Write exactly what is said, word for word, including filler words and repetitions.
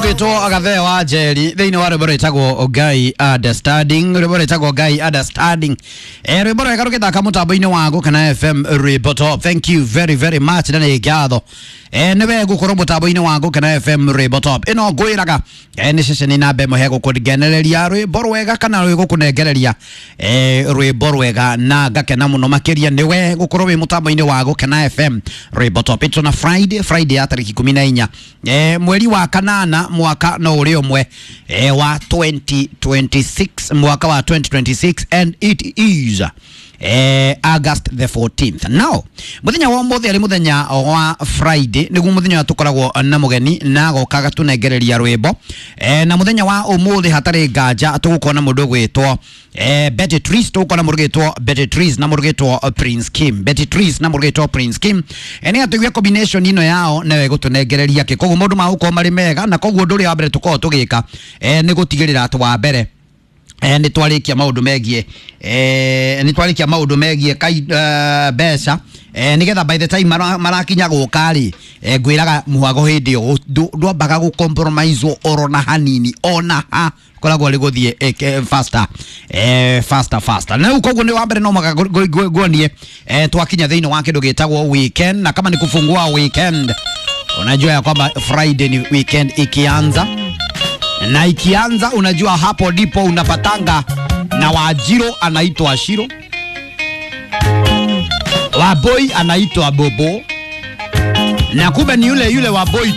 Gwitwo Agathee wa Njeri thĩinĩ wa rwĩmbo rwĩtagwo Ngai Understanding, rwĩmbo rwĩtagwo Ngai Understanding. Eh, rwĩmbo rwega rũgĩthaka mũtambo-inĩ wa Gũkena F M Rwĩmbo Top. Thank you very very much na nĩ ngatho. Eh, nĩ we gũkorwo mũtambo-inĩ wa Gũkena F M Rwĩmbo Top. Ĩno ngwĩraga eh, nĩ ceceni namba ĩmwe he gũkũngenereria rwĩmbo rwega kana rwĩgũkũnengereria eh, rwĩmbo rwega na ngakena mũno makĩria nĩ we gũkorwo wĩ mũtambo-inĩ wa Gũkena F M Rwĩmbo Top. It's on a Friday, Friday ya tarĩki ikũmi na inya eh, mweri wa kanana mwaka no ũrĩ ũmwe eh, wa twenty twenty-six, mwaka wa twenty twenty-six, and it is eh, August the fourteenth. Now muthenya wa umuthi ari muthenya wa Friday niguo muthenya tukoragwo na mugeni na agoka agatunengereria rwimbo eh, na muthenya wa umuthi hatari nganja tugukona mundu gwitwo eh, Betty Trees, tugukona mundu gwitwo Betty Trees na mundu gwitwo Prince Kim, Betty Trees na mundu gwitwo Prince Kim. eh, ni atuigue combination ino yao nawe gutunengereria ki koguo maundu magukorwo mari mega na koguo undu uria wa mbere tukorwo tugika eh, ni gutigirira ati wa mbere eh, nĩ twarĩkia maũndũ megiĩ eh, nĩ twarĩkia maũndũ megiĩ kai uh, mbeca eh, nĩgetha by the time mara, marakinya gũka rĩ eh, ngwĩraga mũhago hĩndĩ ĩyo ndwambaga gũ compromise oro na hanini ona ha koragwo rĩ gũthiĩ eh, faster eh, faster faster. Na rĩu koguo nĩ wa mbere no maka nguonie eh, twakinya thĩinĩ wa kĩndũ gĩtagwo weekend, na kama ni kufungua weekend unajua ya kwamba Friday ni weekend ikianza na ikianza unajua hapo ndipo unapatanga na Wajiro anaitwa Shiro, Waboi anaitwa Bobo, na kumbe ni yule yule Waboi